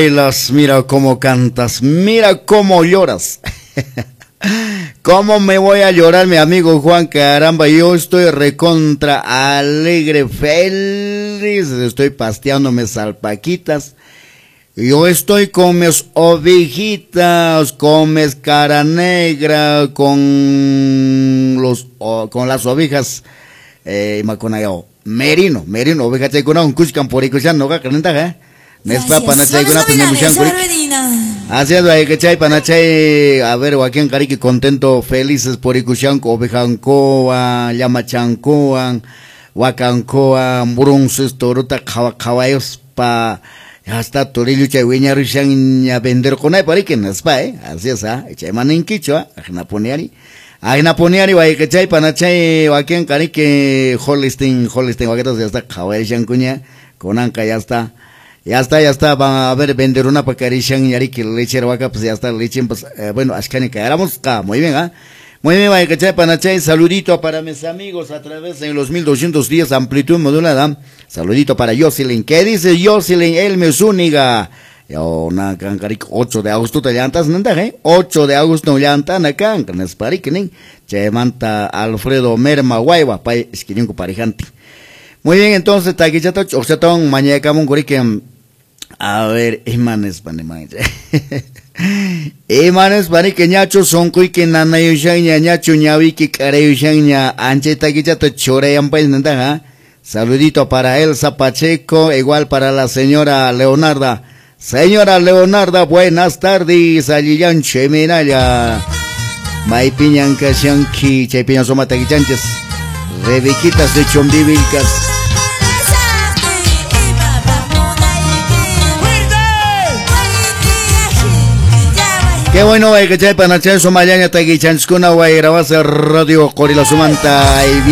Bailas, mira cómo cantas, mira cómo lloras. ¿Cómo me voy a llorar, mi amigo Juan? Caramba, yo estoy recontra alegre, feliz. Estoy pasteándome salpaquitas. Yo estoy con mis ovejitas, con mis cara negra, con las ovejas, merino, merino, oveja chaykuna unkushkan purikushan noqaqa nintaqa, eh? Nespa panachaykunapas nimushanku riki. Así es, wayqichay panachay, a ver, wakin qariki contento, felices purikushanku ovejankuwan, llamachankuwan, wakankuwan, brunces torota qhawa qhawayuspa, hasta torilluchay wiñarushanña venderqunaypaq riki nispa, eh? Así es, ah, chayman ninkichu, ah, ajinapuni ari, wayqichay panachay, wakin qariki Holstein, Holstein wakitas ya está qhawayashankuña, kunanqa ya está. Ya está, ya está, va a ver, vender una pacarishan yariki lechera vaca, pues ya está, leche, pues, bueno, ashkani caeramos, muy bien, ¿ah? Muy bien, wayqichay panachay, saludito para mis amigos a través de los 1210 amplitud modulada, saludito para Jocelyn, ¿qué dice Jocelyn Elme Zúñiga? Yo, na, cancarik, 8 de agosto te llantas, ¿no? ¿Eh? 8 de agosto llantan acá, nesparikinin, che manta Alfredo Merma Guayba, pay, esquiñunco parejante. Muy bien, entonces, taquichata, ochatón, mañacamun, corique, a ver, imanes, panemay. Imanes, panique, ñacho, soncuique, nanayushaña, ñacho, ñavique, carayushaña, anche, taquichata, choreyampay, nanda, Saludito para Elsa Pacheco, igual para la señora Leonarda. Señora Leonarda, buenas tardes, allillan, cheminaya. Maipiñan, kashanki, chaypiñan, soma, taquichanches. Rebequitas de Chumbivilcas. Qué bueno, que chay panachay somayaña taquichanchkuna guayrabasa radio Qorila Sumanta y bien.